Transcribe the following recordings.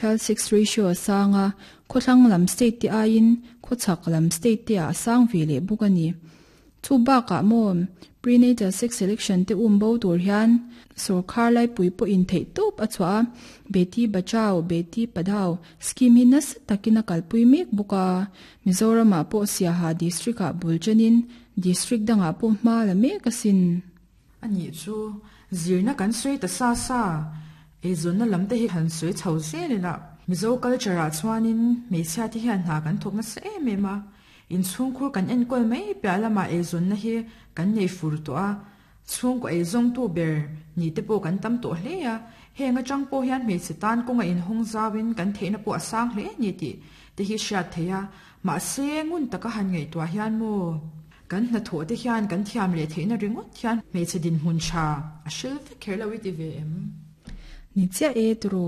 Child sex ratio a sang a, khawthlang lam state te aiin khawchhak lam state te ah a sang ve leh bawk a ni. Chu bakah maw prenatal sex selection te um bo tur hian sawrkhar laipui pawhin theih tawp a chhuah a, Beti Bachao, Beti Padhao scheme hi nasa takin a kalpui mek bawk a, Mizoramah pawh Siaha district ah bul chenin district dangah pawh hma la mek asin. A nih chu, zirna kan sawi ta sa sa, eizawnna lam te hi han sawi chho zel ila. Mizo culture ah chuanin hmeichhia te hian hna kan thawk nasa em em a, inchhungkhur kan enkawl mai piah lamah eizawnna hi kan nei fur tawh a, chhungkaw eizawngtu ber ni te pawh kan tam tawh hle a, heng atang pawh hian hmeichhe tan kawnga inhawng zauin kan theihna pawh a sang hle a ni tih te hi hriat theih a, mahse ngun taka han ngaihtuah hian maw? Kan hnathawh te hian kan thiam leh theihna ringawt hian hmeichhe dinhmun tha a hril vek kher lo i ti ve em? Ni chiah e turu,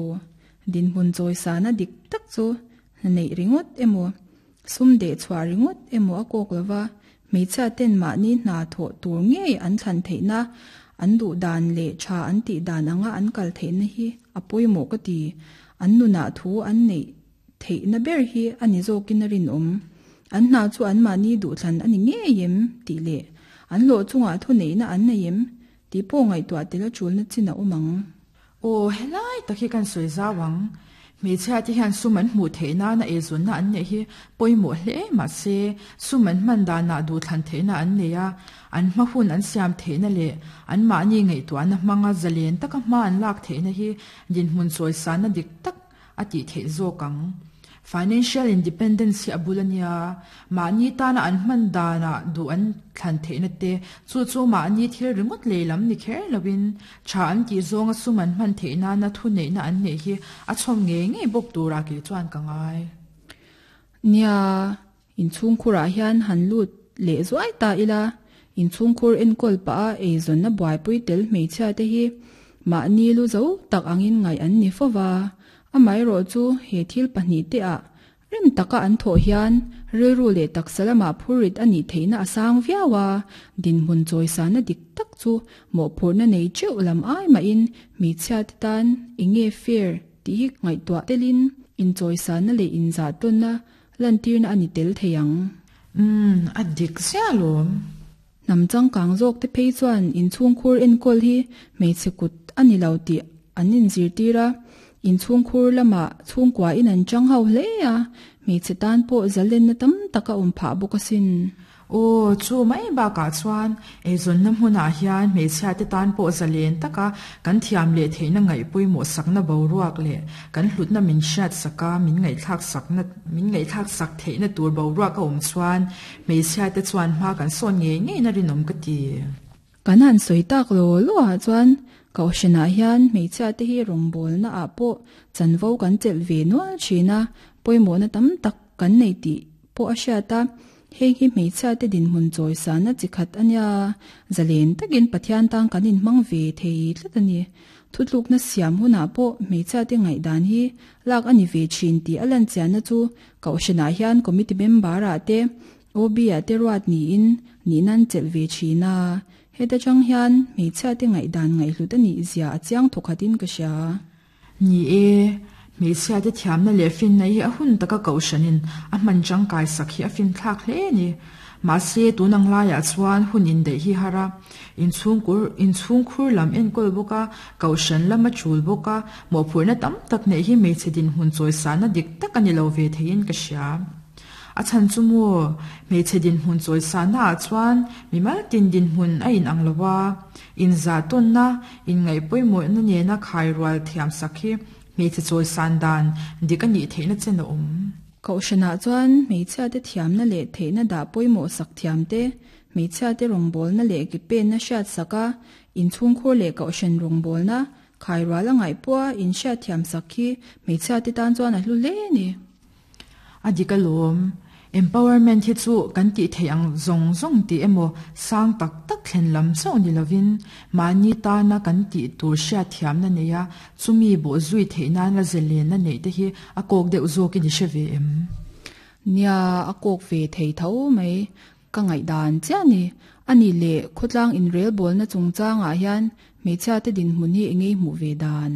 dinhmun chawisana dik tak chu hna neih ringawt emaw, sum deh chhuah ringawt emaw a kawk lova, hmeichhia ten mahni hna thawh tur ngei an thlan theihna, an duh dan leh tha an tih dan anga an kal theihna hi a pawimawh ka ti. An nunah thu an neih Theihna ber hi a ni zawkin a rinawm. An hna chu anmahni duhthlan a ni ngei em? tih leh an hlawh chungah thuneihna an nei em? tih pawh ngaihtuah tel a tulna chin a awm ang. Aw, helai tak hi kan sawi zau ang. Hmeichhia te hian sum an hmuh theih nana eizawnna an neih hi pawimawh hle mahse sum an hman danah duhthlan theihna an nei a, an hma hun an siam theihna leh anmahni ngaihtuahna hmanga zalen taka hma an lak theihna hi dinhmun chawisanna dik tak a tih theih zawk ang. Financial independence hi a bul a nia, mahni tana an hman danah duh an thlan theihna te, chu chu mahni thil ringawt lei lam ni kher loin tha an tih zawnga sum an hman theih nana thuneihna an neih hi a chhawm ngei ngei bawk turah kei chuan ka ngai. Nia, inchhungkhurah hian han lut leh zuai ta ila, inchhungkhur enkawl pah a eizawnna buaipui tel hmeichhia te hi mahni lu zo tak angin ngaih an ni fo va, amaherawh chu he thil pahnih te ah rem taka an thawh hian rilru leh taksa lamah phurrit a nih theihna a sang viau a, dinhmun chawisana dik tak chu mawhphurhna nei teuh lam ai mahin hmeichhia te tan enge fair tih hi ngaihtuah telin inchawisana leh inzahtawnna Lantirna a ni tel thei ang. Umm, a dik ziah alawm. Hnam changkang zawk te phei chuan inchhungkhur enkawl hi hmeichhe kut a ni lo tih an inzirtir a, inchhungkhur lamah chhungkua in an chang ho hle a, hmeichhe tan pawh zalenna tam tak a awm phah bawk asin. Aw, chu mai bakah chuan eizawnna hmunah hian hmeichhiate tan pawh zalen taka kan thiam leh theihna ngaih pawimawh sakna boruak leh kan hlutna min hriat saka min ngaihthlak sakna min ngaihthlak sak theihna tur boruak a awm chuan hmeichhiate chuan hma kan sawn ngei ngeina rinawm ka ti. Kan han sawi tak law law ah chuan Kohhranah hian hmeichhiate hi rawngbawlna ah pawh chanvo kan chelh ve nual thin a, pawimawhna tam tak kan nei tih pawh a hriat a, heng hi hmeichhiate dinhmun chawisana chi khat a nia, zalen takin Pathian tan kan inhmang ve thei tlat a ni. Thutlukna siam hunah pawh hmeichhiate ngaihdan hi lak a ni ve thin tih a lanchianna chu Kohhranah hian committee member-ah te OB-ah te ruat niin nihna an chelh ve thin a, heta tang hian hmeichhiate ngaihdan ngaihhlut a nih zia a chiang thawkhatin ka hria. Ni e, hmeichhiate thiamna leh finna hi a hun taka kohhranin a hman tangkai sak hi a finthlak hle a ni. Mahse, tun ang laiah chuan hun indaih hi har a, inchhungkur inchhungkhur lam enkawl bawk a, kohhran lam a chul bawk a, mawhphurhna tam tak neih hi hmeichhe dinhmun chawisana dik tak a ni lo ve theiin ka hria. A chhan chu maw, hmeichhe dinhmun chawisana ah chuan mimal tin dinhmun a inang lo a, inzah tawnna, inngaih pawimawhna nena khai rual thiam sak hi hmeichhe chawisan dan dik a nih theihna chen a awm. Kohhranah chuan hmeichhiate thiamna leh theihna dah pawimawh sak thiam te, hmeichhiate rawngbawlna leh ki penna hriat sak a, inchhungkhur leh kohhran rawngbawlna khai rual a ngaih pawha inhriat thiam sak hi hmeichhiate tan chuan a hlu hle a ni. A dik alawm. Empowerment hi chu kan tih theih ang zawng zawng tih emaw sang tak tak thlen lam chauh ni lovin mahni tana kan tih tur hriatthiamna neia chumi bawh zui theih nana zelenna neih te hi a kawk deuh zawkin i hre ve em? Nia, a kawk ve thei tho mai. Ka ngaihdan chiah ni. A nih leh khawtlang inrelbawlna chungchangah hian hmeichhiate dinhmun hi engei hmuh ve dan?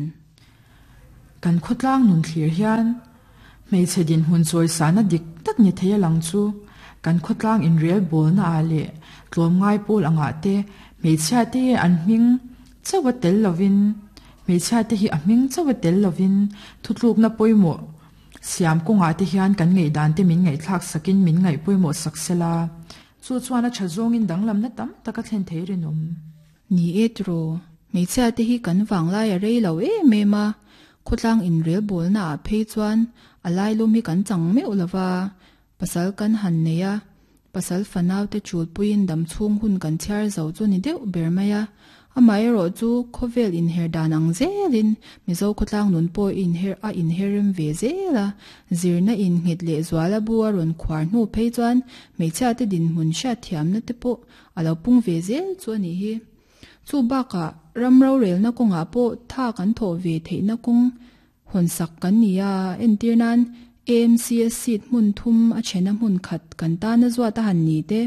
Kan khawtlang nun thlir hian hmeichhe dinhmun chawisana dik tak ni thei a lang chu kan khawtlang inrel bawlna ah leh tlawmngai pawl angah te hmeichhia te an hming chauh a tel lovin hmeichhia te hi a hming chauh a tel lovin thutlukna pawimawh siam kawngah te hian kan ngaihdan te min ngaihthlak sakin min ngaih pawimawh sak sela chu chuan a tha zawngin danglamna tam tak a thlen thei rinawm. Ni e tiraw, hmeichhia te hi kan vanglai a rei lo em em a, khawtlang inrelbawlna ah phei chuan a lailum hi kan chang meuh lova, pasal kan han nei a, pasal fanau te chulpuiin damchhung hun kan chhiar zo chu ni deuh ber mai a, amaherawh chu khawvel inher dan ang zelin Mizo khawtlang nun pawh inher a inherrem ve zel a, zirna innghet leh zuala bu a rawn khuar hnu phei chuan hmeichhia te dinhmun hriatthiamna te pawh a lo pung ve zel chu a nih hi. Chu bakah ram rorelna kawngah pawh tha kan thawh ve theihna kawng hawnsak kan ni a, entir nan AMCS seat hmun thum a chhena hmun khat kan tana zuat a han ni te,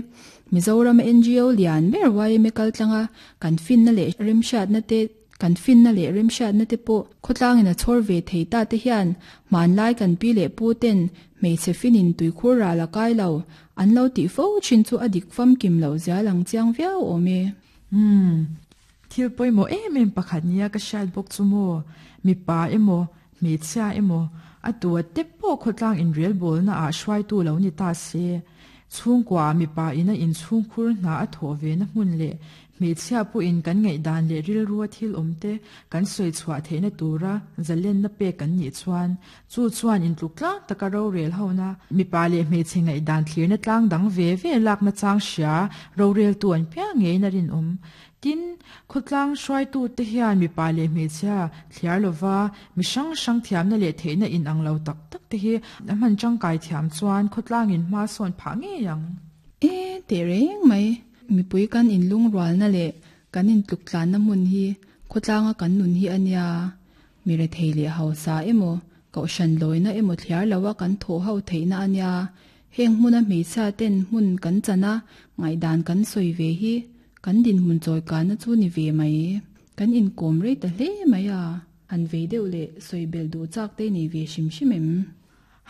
Mizoram NGO lian ber yma kaltlanga kan finna leh remhriatna te Kan finna leh remhriatna te pawh khawtlangin a chhawr ve thei ta te hian hmanlai kan pi leh pu ten hmeichhe finin tuikhur ral a kai lo an lo tih fo thin chu a dik famkim loh zia lang chiang viau awm e. Umm. Thil pawimawh em em pakhat nia ka hriat bawk chu maw, mipa emaw, hmeichhia emaw, a tu a te pawh khawtlang inrelbawlna ah hruaitu lo ni ta se, chhungkua ah mipa ina inchhungkhur hna a thawh ve na hmun leh Hmeichhia pawhin kan ngaihdan leh rilrua thil awmte kan sawi chhuah theihna tura zalenna pek kan nih chuan, chu chuan intluk tlang taka rorel hona, mipa leh hmeichhe ngaihdan thlirna tlang dang ve ve lakna chang hria roreltu an piang ngeiin a rinawm. Tin, khawtlang hruaitute hian mipa leh hmeichhia thliar lova mi hrang hrang thiamna leh theihna inang lo tak tak te hi a hman tangkai thiam chuan khawtlangin hma sawn phah ngei ang. E, teh reng mai. Mipui kan inlungrualna leh kan intluktlanna hmun hi khawtlanga kan nun hi a nia. Mi rethei leh hausa emaw, kohhran lawina emaw thliar loa kan thawh ho theihna a nia. Heng hmuna hmeichhia ten hmun kan chan a, ngaihdan kan sawi ve hi kan dinhmun chawikanna chu ni ve mai. Kan inkawm rei ta hle mai a, han vei deuh leh sawi belh duh chak te nei ve hrim hrim em?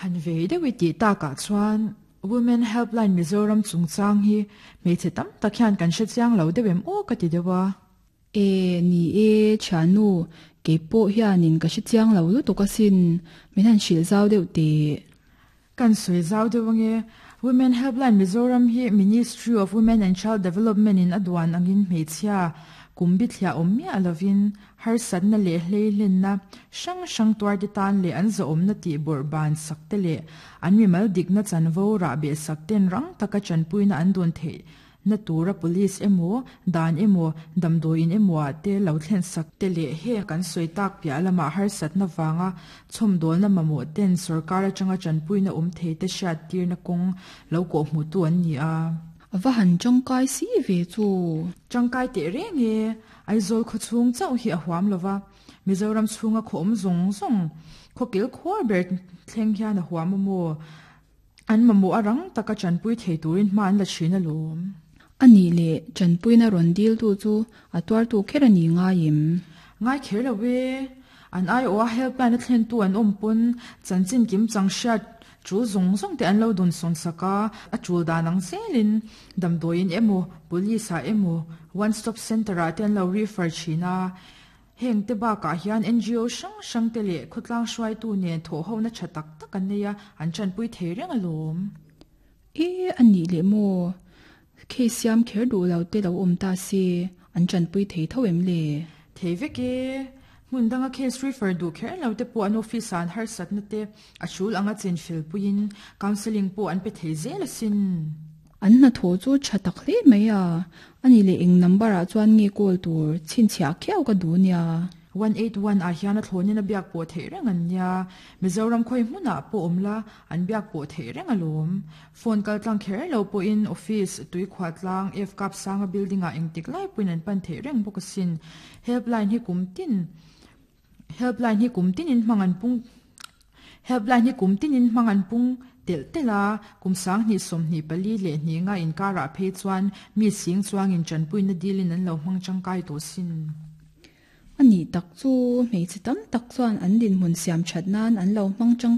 Han vei deuh i tih takah chuan Women Helpline Mizoram chungchang hi hmeichhe tam tak hian kan hre chiang lo deuh em aw ka ti deuh a. E, ni e, thiannu, kei pawh hianin ka hre chiang lo lutuk asin, min han hrilh zau deuh teh. Kan sawi zau deuh ange, Women Helpline Mizoram hi Ministry of Women and Child Development in a duan angin hmeichhia kum bithliah awm miah lovin Harsatna leh hleihlenna hrang hrang tuarte tan leh an zawhawmna tih bawrh ban sak te leh an mimal dikna chanvo rah beh sak ten rang taka tanpuina an dawn theihna tura police emaw, dan emaw, damdawiin emaw ah te lo thlen sak te leh heng kan sawi tak piah lamah harsatna vanga chhawmdawlna mamawh ten sorkar atanga tanpuina awm thei te hriattirna kawng lo kawhhmuhtu an ni a. A va han tangkai si ve chu. Tangkai teh reng e. Aizawl khawchhung chauh hi a huam lova, Mizoram chhunga khaw awm zawng zawng, khaw kil khuar ber thleng hian a huam a maw? An mamawh a rang taka tanpui thei turin hma an la thin alawm. A nih leh tanpuina rawn diltu chu a tuartu kher a ni ngai em? Ngai kher lo e. An aiawha helpline a thlentu an awm pawn chanchin kim chang hriat Tul zawng zawng te an lo dawn sawn sak a, a tul dan ang zelin damdawiin emaw, police ah emaw, one stop centre ah te an lo refer thin a. Heng te bakah hian NGO hrang hrang te leh khawtlang hruaitu nen thawhhona tha tak tak an nei a, an tanpui thei reng alawm. E, a nih leh maw? Case siam kher duh lo te lo awm ta se, an tanpui thei tho em le? Thei vek e. Hmun danga case refer duh kher lo te pawh an office ah an harsatna te a hrul anga chinfel puiin counselling pawh an pe thei zel asin. An hnathawh chu tha tak hle mai a, ani leh eng number ah chuan nge call tur chhinchhiah khiau ka duh nia. 181 ah hian a thlawnin a biak pawh theih reng an nia, Mizoram khawi hmunah pawh awm la an biak pawh theih reng alawm. Phone kal tlang kher lo pawhin office, tuikhuah tlang, F-Cup sanga building ah engtik lai pawhin an pan theih reng bawk asin. Helpline hi kum tin Helpline hi kum tinin hmang an pung Helpline hi kum tinin hmang an pung telh telh a, kum 20 24 leh hnih nga inkarah phei chuan mi sing chuangin tanpuina dilin an lo hmang tangkai tawh sin. A nih tak chu, hmeichhe tam tak chuan an dinhmun siam that nan an lo hmang tangkai.